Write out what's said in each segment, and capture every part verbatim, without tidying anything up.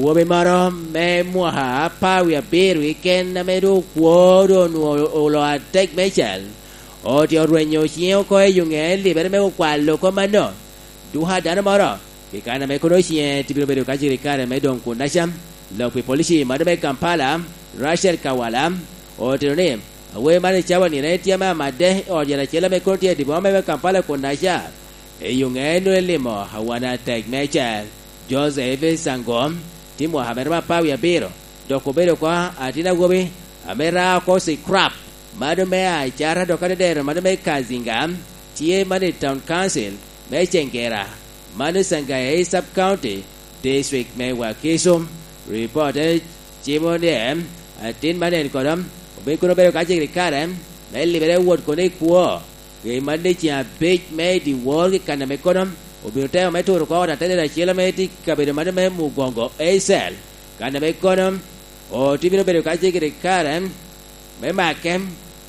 Awobi moro me mwaka apar wie abiro keken ame doŋ okwo doŋ onwoŋo olo atek meicel, otye orwenyo ciŋe oko i yo ŋe libere me okwalo kop mano. Duka dano moro, pi kan ame kono ciŋe tye bino bedo ka cito i kare me doŋ kun acam, lok pi polici mano me Kampala, Rachel Kawala, otito ni, awobi man i cawa nino en tye ame amadde i ot yat acel ame kono tye i dye boma me Kampala kun aca. I yo ŋe nwoŋo elimo awana atek meicel, Joseph Sango, tye mwaka mere me apar wie abiro, dok obedo oko atin awobi ame ra oko scrap, mano me Acara dok adedero mano me Kazinga, tye mano i Town Council me Cengera, mano i Sangaya East Sub County, District me Wakiso. Ripotte cimo ni atin man en kono obin kono obedo ka cik i kare me libere wot kono i kwo. Ŋe man ni ceŋ abic me i dyewor i kan ame kono obino temo me turo oko ot atedero acel ame tye i kabedo mano me Mugongo Eicel, kan ame kono otye bino bedo ka cik i kare me make,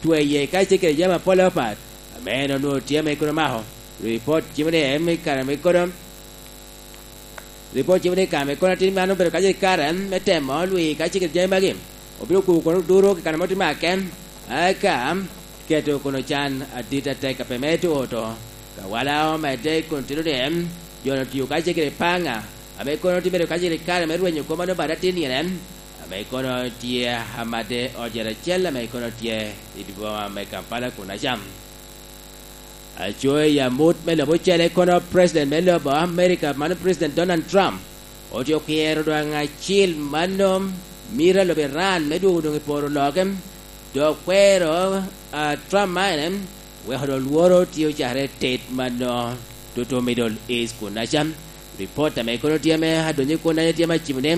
tweye ka cik i jami apol apat ame en onwoŋo tye ame kono mako. Ripot cimo ni en i kare ame kono Ripot cimo ni kare ame kono atin man obedo kacel i kare me temo lwi ka cik i jami magi, obino kubo kono duro i kare ma otye make, eka keto kono can adit atek a pe me to oto. Kawala omedde kun tito ni en, jo-nu otio ka cik i paŋa, ame kono tye bedo kacel i kare me rwenyo kop mano bade atin nino en, ame kono tye amadde ot yat acel ame kono tye i dye boma me Kampala kun acam. Aco i amut me lobo ocele kono President me lobo America, mano President Donald Trump, otye okwero doŋ acil mano mito a lobo Iran me dwogo doŋ i poro loke, dok kwero a Trump man weko doŋ lworo tye ocakere tet mano toto Middle East kun acam. Ripot ame kono tye ame adonyo kun aye tye ame acimo ni,